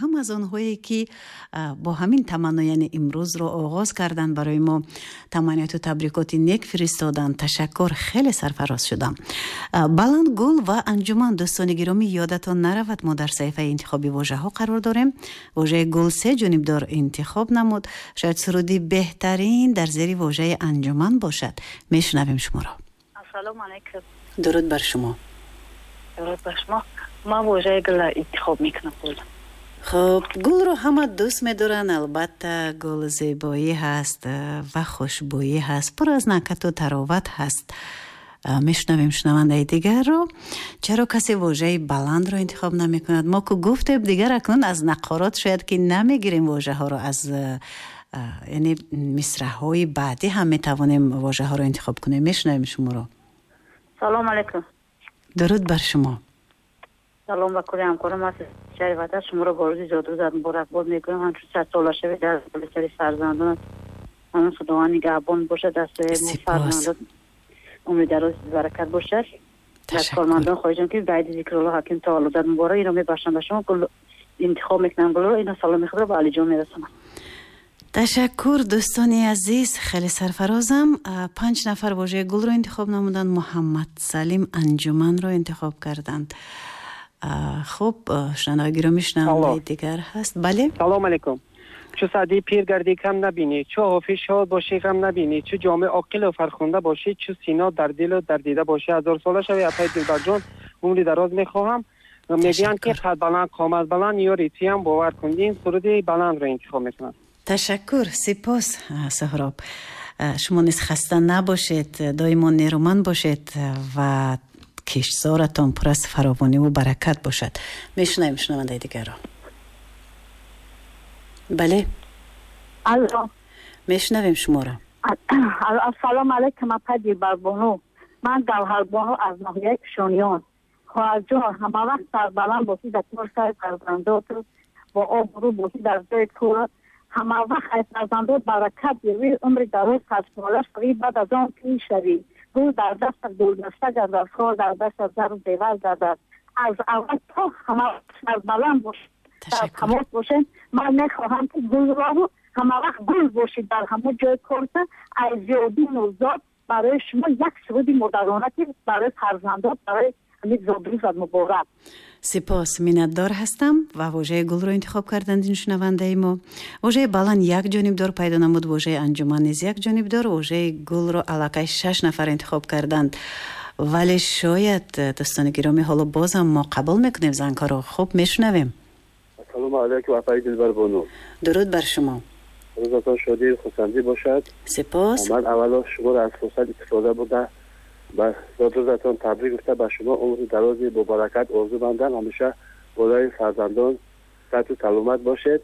Ҳам аз онҳое, ки бо ҳамин таманно, яъне имрӯзро оғоз карданд, барои мо таманниёту табрикоти нек фиристоданд. Ташаккур, хеле сарфароз шудам. Баланд, гул ва анҷуман. Дӯстони гиромӣ, ёдатон наравад, мо дар саҳифаи интихоби вожаҳо қарор дорем. Вожаи гул се ҷонибдор интихоб намуд. Шояд суруди беҳтарин дар зери вожаи анҷуман бошад. Мешунавем шуморо. Ассалому алайкум. Дуруд бар шумо. Дуруд бар шумо. Ман вожаи гулро интихоб мекунам, гул. Хуб, гулро ҳама дӯст медоранд, албатта. Гул зебоӣ ҳаст ва хушбӯӣ ҳаст, пур аз накату тароват ҳаст. Мешунавем шунавандаи дигарро. Чаро касе вожаи баландро интихоб намекунад? Мо ку гуфтем, дигар акнун аз нақорот шояд ки намегирем вожаҳоро, аз яъне мисраҳои баъдӣ ҳам метавонем вожаҳоро интихоб кунем. Мешунавем шуморо. Салом алайкум. Дуруд бар шумо. Салом ба кулли ҳамкорам аз шаҳри Ваҳдат. Шуморо бо рӯзи зодрӯзат муборакбод мекунам. Ҳамчун 100 сола шавед, дар сари фарзандонат ҳамон Худованд нигаҳбон бошад, дар сояи мо фарзандот умри дароз, баракат бошад. Аз кормандон хоҳишам, ки баъди Зикрулло Ҳаким таваллудат муборак ино мебахшам ба шумо. Гул интихоб мекунам, гулро. Ино саломи худро ба Алиҷон мерасонам. Ташаккур, дӯстони азиз, хеле сарфарозам. Панҷ нафар вожаи гулро интихоб намуданд. Муҳаммад Салим анҷуманро интихоб карданд. Хуб, шунавандаи гиромӣ, шунавандаи дигар ҳаст. Бале. Салом алейкум. Чу Саъдӣ пир гардӣ, кам набинӣ, чу Ҳофиз шод бошӣ, ғам набинӣ, чу Ҷомӣ оқилу фархунда бошӣ, чу Сино дар дилу дар дида бошӣ. 1000 сола шавӣ, апаи Дилбарҷон, умри дароз мехоҳам. Мегӯянд, ки қад баланд, қомат баланд, ёри туям, бовар кун, ин суруди баландро интихоб мекунам. Ташаккур, сипос, Соҳроб. Шумо низ хаста набошед, доимо нерӯманд бошед ва киштзоратон пур аз фаровониву баракат бошад. Мешунавем шунавандаи дигарро. Бале. Алло. Мешунавем шуморо. Ассалому алайкум, апа Дилбарбону. Ман Гавҳарбону аз ноҳияи Кишониён. Хоҳарҷон, ҳамавақт сарбаланд бошӣ, дар кор сари фарзандоту бо обрӯ бошӣ, дар ҷои кор ҳамавақт аз фарзандот баракат гирӣ, умри дароз, 100 сола шавӣ, баъд аз он пир шавӣ, гул дар дастат гулдаста гардад, хор дар дастат зару зевар гардад. Аз аввал то ҳама сарбаланд бошӣ, дар тамос бошем. Ман мехоҳам, ки гулро ҳамавақт гул бошед дар ҳамон ҷои корта. Аз зиёдӣ нурзод барои шумо як суруди модарона, ки барои фарзандот, барои ҳамин зодрӯзат муборак. Сипос, миннатдор ҳастам. Ва вожаи гулро интихоб карданд ин шунавандаи мо. Вожаи баланд як ҷонибдор пайдо намуд, вожаи анҷуман низ як ҷонибдор. Вожаи гулро аллакай шаш нафар интихоб карданд, вале шояд, дӯстони гиромӣ, ҳоло бозам мо қабул мекунем зангҳоро. Хуб, мешунавем. Ассалому алайкум, апаи Дилбарбону. Дуруд бар шумо. Рӯзатон шодию хурсандӣ бошад. Сипос. Ман аввало шуморо аз фурсат истифода бурда, ба зодрӯзатон табрик гуфта, ба шумо умри дарози бобаракат орзу бандам. Ҳамеша болои фарзандон саҳату саломат бошед.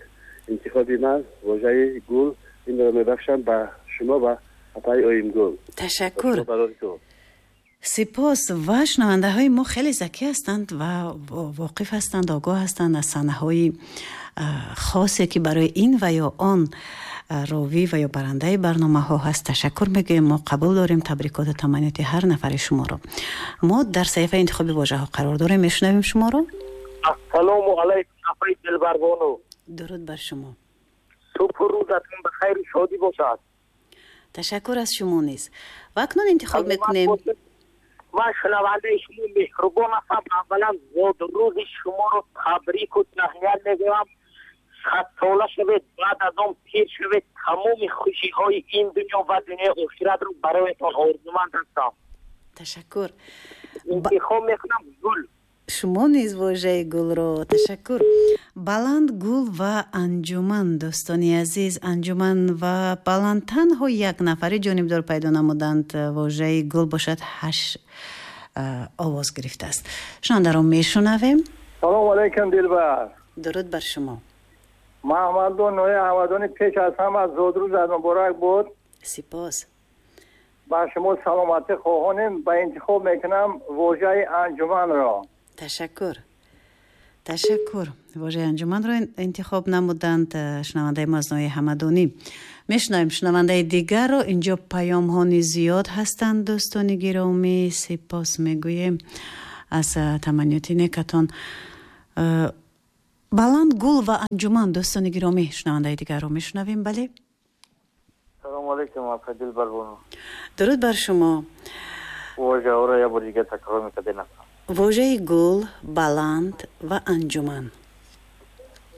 Интихоби ман вожаи гул, инро мебахшам ба шумо ва апаи Оимгул. Ташаккур, сипос. Ва шунавандаҳои мо хеле закӣ ҳастанд ва воқиф ҳастанд, огоҳ ҳастанд аз саҳнаҳои хосе, ки барои ин ва ё он ровӣ ва ё барандаи барномаҳо ҳаст. Ташаккур мегӯем, мо қабул дорем табрикоту таманниёти ҳар нафари шуморо. Мо дар саҳифаи интихоби вожаҳо қарор дорем. Мешунавем шуморо. Ассалому алайкум, апаи Дилбарбону. Дуруд бар шумо. Субҳу рӯзатон ба хайру шодӣ бошад. Ташаккур, аз шумо низ. Ва акнун интихоб мекунем. Ман шунавандаи шумо меҳрубон ҳастам. Аввалан зодрӯзи шуморо табрику таҳният мегӯям. 100 сола шавед, баъд аз он пир шавед. Тамоми хушиҳои ин дунё ва дунёи охиратро бароятон орзуманд ҳастам. Ташаккур. Интихоб мекунам гул. Шумо низ вожаи гулро. Ташаккур. Баланд, гул ва анҷуман. Дӯстони азиз, анҷуман ва баланд танҳо як нафари ҷонибдор пайдо намуданд. Вожаи гул бошад, ҳашт овоз гирифтааст. Шунавандаро мешунавем. Салому алайкум, Дилбар. Дуруд бар шумо. Маҳмаддон, ноҳияи Ҳамадонӣ. Пеш аз ҳама зодрӯзат муборак буд. Сипос. Ба шумо саломатӣ хоҳонем. Ба интихоб мекунам вожаи анҷуманро. Ташаккур, ташаккур. Вожаи анҷуманро интихоб намуданд шунавандаи мо аз ноҳияи Ҳамадонӣ. Мешунавем шунавандаи дигарро. Инҷо паёмҳо низ зиёд ҳастанд, дӯстони гиромӣ. Сипос мегӯем аз таманниёти некатон. Баланд, гул ва анҷуман. Дӯстони гиромӣ, шунавандаи дигарро мешунавем. Бале, Салому алейкум, апа Дилбарбону. Дуруд бар шумо. Вожаҳоро як бор дигар такрор мекардед? Вожаи гул, баланд ва анҷуман.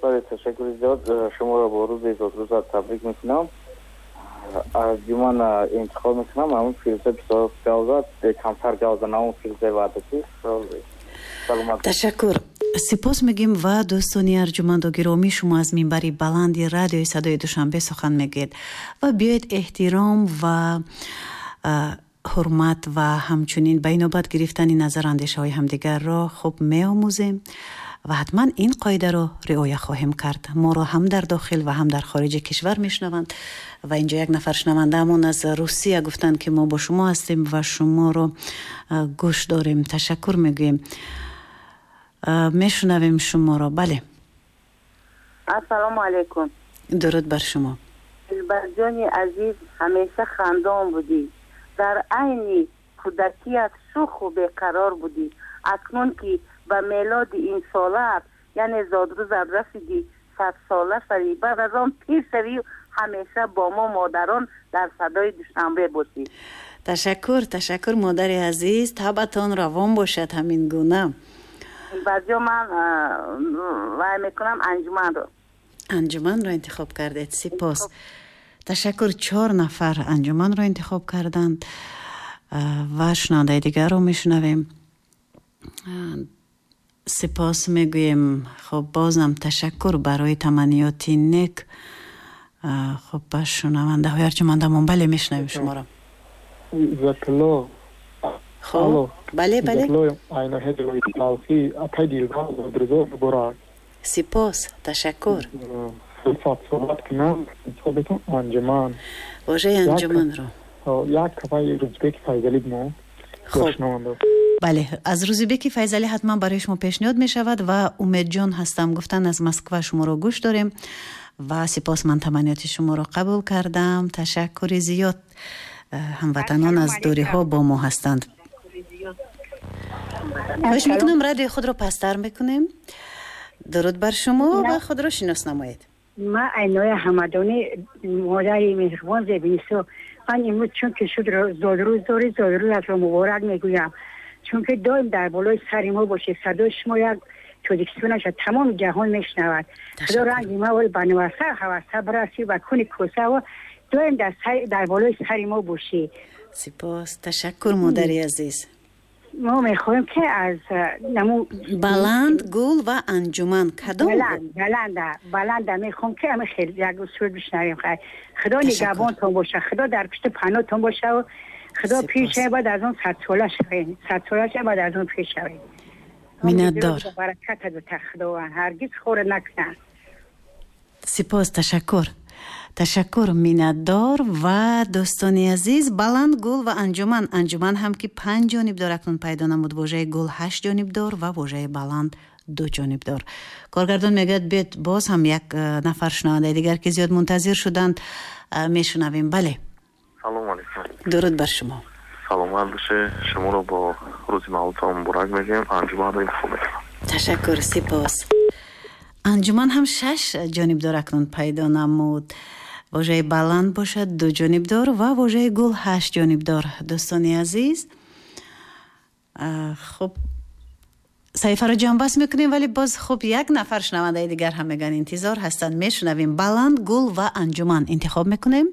Бале, ташаккури зиёд. Шуморо бо рӯзи зодрӯзат табрик мекунам. Анҷуман интихоб мекунам. Ҳамун Фирӯза бисёр гав зад, камтар гав зад, ҳамун Фирӯзаи Ваҳдатӣ. Саломат. Ташаккур, сипос мегӯем. Ва дӯстони арҷуманду гиромӣ, шумо аз минбари баланди радиои садои Душанбе сухан мегӯед ва биёед, эҳтиром ва ҳурмат ва ҳамчунин ба инобат гирифтани назару андешаҳои ҳамдигарро хуб меомӯзем ва ҳатман ин қоидаро риоя хоҳем кард. Моро ҳам дар дохил ва ҳам дар хориҷи кишвар мешунаванд ва инҷо як нафар шунавандаамон аз Русия гуфтанд, ки мо бо шумо ҳастем ва шуморо гӯш дорем. Ташаккур мегӯем. Мешунавем шуморо, бале. Ассалому алайкум. Дуруд бар шумо. Дилбарҷони азиз, ҳамеша хандон будӣ, дар айни кӯдакият шӯху беқарор будӣ. Акнун ки ба мелоди ин солаат, яъне зодрӯзат расидӣ, 100-сола шавӣ, баъд аз он пир шавӣ, ҳамеша бо мо модарон дар садои Душанбе бошӣ. Ташаккур, ташаккур, модари азиз, табъатон равон бошад ҳамин гуна. Баъзиё ман вай мекунам анҷуманро. Анҷуманро интихоб кардед, сипос, ташаккур. Чор нафар анҷуманро интихоб карданд ва шунавандаи дигарро мешунавем. Сипос мегӯем. Хуб, бозам ташаккур барои таманниёти нек. Хуб, ба шунавандаҳои арҷумандамон. Бале, мешунавем шуморо. Иззатулло. Хуб, бале, бале. Апай Дилбар, зодрӯзо муборак. Сипос, ташаккур. Суҳбат кунам, интихоб мекунам анҷуман. Вожаи анҷуманро. Як кафаи Рӯзбеки Файзалӣ мо. Хуб, бале, аз Рӯзибеки Файзалӣ ҳатман барои шумо пешниҳод мешавад. Ва Умедҷон ҳастам, гуфтан, аз Москва шуморо гӯш дорем ва сипос, ман таманниёти шуморо қабул кардам, ташаккури зиёд. Ҳамватанон аз дуриҳо бо мо ҳастанд. Хоҳиш мекунам, радиои худро пасттар мекунем. Дуруд бар шумо ва худро шинос намоед. Ма Айноя Ҳамадонӣ, модари меҳрубон Зебинисо. Ман имрӯз, чунки шуд зодрӯз дорӣ, зодрӯзатро муборак мегӯям, чунки доим дар болои сари мо бошед. Садои шумо як Тоҷикистонаша тамоми ҷаҳон мешунавад. Худо ранги ма ба нуваса ҳаваса бирасӣ ба куни косаво, доим дар болои сари мо бошӣ. Сипос, ташаккур, модари азиз. Мо мехоҳем, ки аз наму Баланд, гул ва анҷуман, кадом? Баланда, баланда мехоҳем, ки ами хел як суруд бишнавем. Хай, Худо нигаҳбонтон боша, Худо дар пишти паноҳтон боша. Худо пир шавед, баъд аз он 100-сола шавед, 100-сола шавед, баъд аз он пир шавед. Миннатдор. Бараката бита Худованд, ҳаргиз хора накунад. Сипос, ташаккур, ташаккур, миннатдор. Ва дӯстони азиз, баланд, гул ва анҷуман. Анҷуман ҳам ки панҷ ҷонибдор акнун пайдо намуд, вожаи гул ҳашт ҷонибдор ва вожаи баланд ду ҷонибдор. Коргардон мегӯяд, биёед, боз ҳам як нафар шунавандаи дигар, ки зиёд мунтазир шуданд, мешунавем. Бале. Салому алейкум. Дуруд бар шумо. Саломат боше. Шуморо бо рӯзи мавлудтон муборак мегӯем. Анҷуманро интихоб мекунам. Ташаккур, сипос. Анҷуман ҳам шаш ҷонибдор акнун пайдо намуд, вожаи баланд бошад ду ҷонибдор ва вожаи гул ҳашт ҷонибдор. Дӯстони азиз, хуб, саҳифаро ҷамъбаст мекунем, вале боз хуб, як нафар шунавандаи дигар ҳам мегӯянд, интизор ҳастанд. Мешунавем. Баланд, гул ва анҷуман интихоб мекунем.